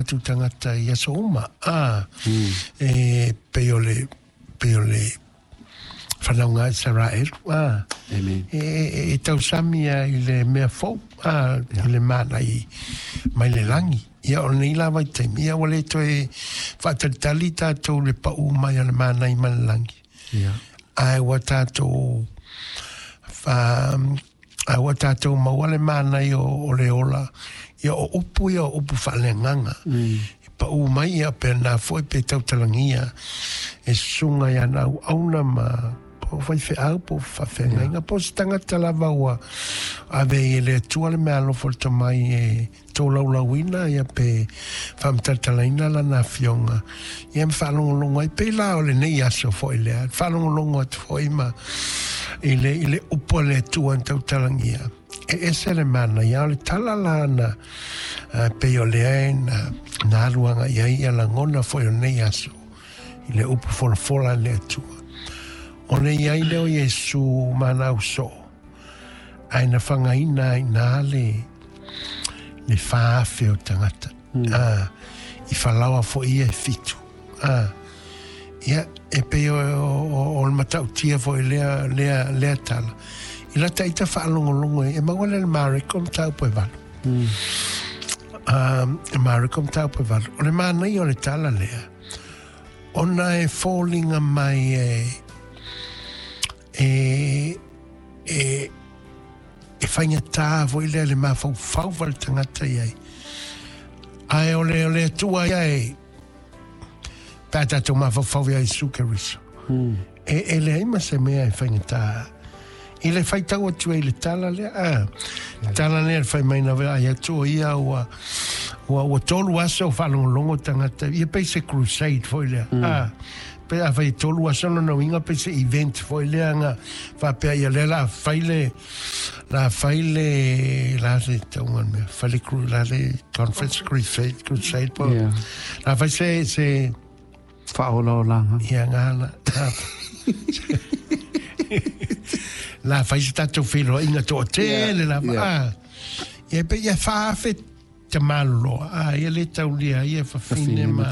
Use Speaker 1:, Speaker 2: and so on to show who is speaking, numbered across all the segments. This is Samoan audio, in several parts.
Speaker 1: tatou tagata i aso uma, a, e pei o le, pei o le fanauga a Isaraelu, a,
Speaker 2: Amen.
Speaker 1: e tausami lava i le mea fou, a, i le mana i, mai le lagi. Ia, o lenei la vaitaimi, ia, ua le toe faatalitali tatou i le pau mai o le mana i mai le lagi. Ae ua tatou, ae ua tatou maua le manaia o le ola, ia o upu ia o upu faaleagaga. E pau mai ia pena foi pe tautalagia e susuga i ana auauna ma po o faifeau po o faafeagaiga po o se tagata lava ua ave ai e le Atua le meaalofa o le tomai e tolaulauina ia pe faamatalatalaina lana afioga ia ma faalogologo ai pei la o lenei aso foi lea faalogologo atu foi ma i le i le upu a le Atua na tautalagia e ese le manaia o le tala la na pei o lea na na alu agai ai ia lagona foi o lenei aso i le upu folafola a le Atua o le i ai lea o Iesu ma ana ausoo ae na fagaina ai i ina le le 4,000 o tagata. A, i falaoa foi ia e fitu. A, ia, e pei o, o, o le matautia foi lea, lea, lea tala. I lata ita faalogologo e, e maua lea le Mareko mataupu e 8. Mareko mataupu e 8. O le manaia o le tala lea, ona e foliga mai e, e, e, e faigata foi lea le mafaufau o le tagata i ai. Ae o le, o le Atua ia e, pe a tatou mafaufau ia Iesu Keriso. E, e leai ma se mea e faigata. I le faitau atu ai i le tala lea, a, le tala lea le fai mai na ai atu o ia ua, ua, ua 3 aso o faalogologo tagata, ia pei se crusade foi lea, a, pe a fai e 3 aso lona uiga pei se event foi lea na faapea ia lea la fai le, la fai le, la se tauga le mea, fai le, la le conference crusade, crusade po, la fai se, se,
Speaker 2: Faaolaolaga.
Speaker 1: Ia ngala. La fai se tatou feiloaiga toatele lava. Ah. Ia pe ia 4,000 te maloloa. Ah, ia le taulia ia fafine ma.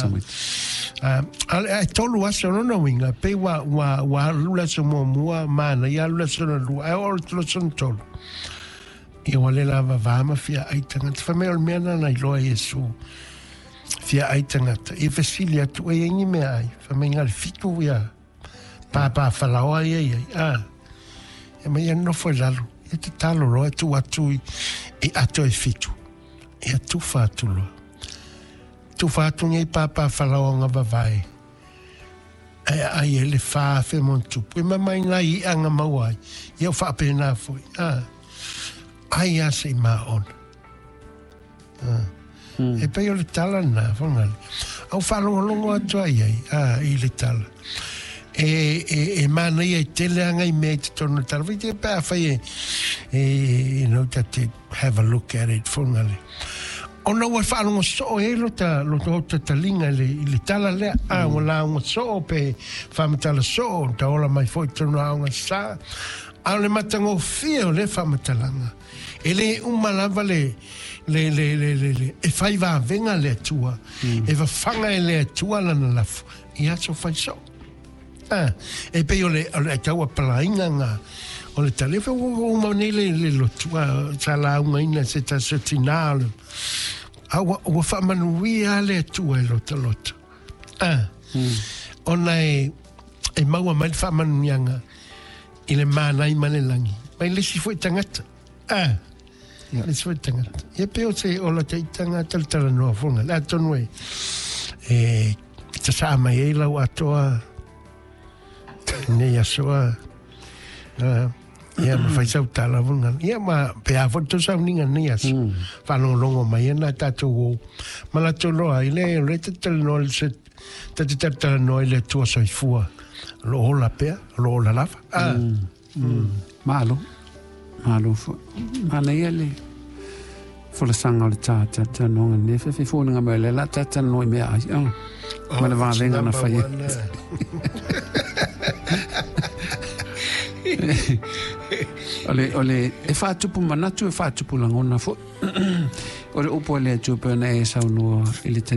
Speaker 1: Ah, ae 3 aso lona uiga, pei ua, ua, ua alu le aso muamua, mana, ia alu le aso lona lua, ae oo i le aso lona tolu. Ia ua le lava va ma fia ai tagata. Fai mai o le mea lena na iloa e Iesu. Fia ai tagata. Ia fesili atu, e i ai ni mea ai. Fai mai na o le 7 ia pāpā falaoa ia i ai. Ah. Ia mai ia nofo i lalo. Ia tatalo loa e tuu atu i, i ato e 7. Ia tufa atu loa. Tufa atu nei pāpā falaoa na vavae. Ae aai ai le 4,000 ma ona tupu. E mama i nai i'a na maua ai. Ia o faapena foi. Ah. Ai a se i maona. Ah. E pei o le tala lena, Fagali. Au faalogologo atu ai ai, a, i le tala. E, e, e manaia e tele lava nai mea i totonu o le tala. Fai te pe afai e, e, you know, ta te have a look at it, Fagali. Ona ua faalogo soo ai lota, lota ota taliga i le, i le tala lea. A, ua lauga soo pe faamatala soo, ta ola mai foi i totonu o aoga sa. A o le matagofie o lea faamatalaga, e le uma lava le, le, le, le, le, le, e fai vavega le Atua, e fafaga e le Atua lana lafo i aso fai soo. A, e pei o le, o le tau apalaiga nga o le tala. E fai ua uma nei le, le lotu, a, sa laugaina se tasi o tinā o le, a ua, ua faamanuia lava le Atua i lota loto. A, ona e, e maua mai le faamanuiaga i le manai ma le lagi, mai le isi foi tagata. A, le isi foi tagata. Ia pei o se ola taitaga talatalanoa foga. Le atonu e, e tasaa mai ai lau atoa nei aso a. Ia ma fai sau tala foga. Ia ma pe a foi tou sauniga nei aso. Faalogologo mai ana tatou o. Ma latou loa ai le, o le talatalanoa le se, ta te talatalanoa i le Atua soifua. O lo o ola pea, o lo o ola lava. Ah.
Speaker 2: Malo. Malo foi. Manaia le folasaga o le talatalanoaga lenei afiafi. E foliga mai o lea o le a talatalanoa i meaai ma le vavega na fai ai. O le, o le, e faatupu manatu, e faatupu lagona foi. O le upu a le Atua pei ona e saunoa i le taimi.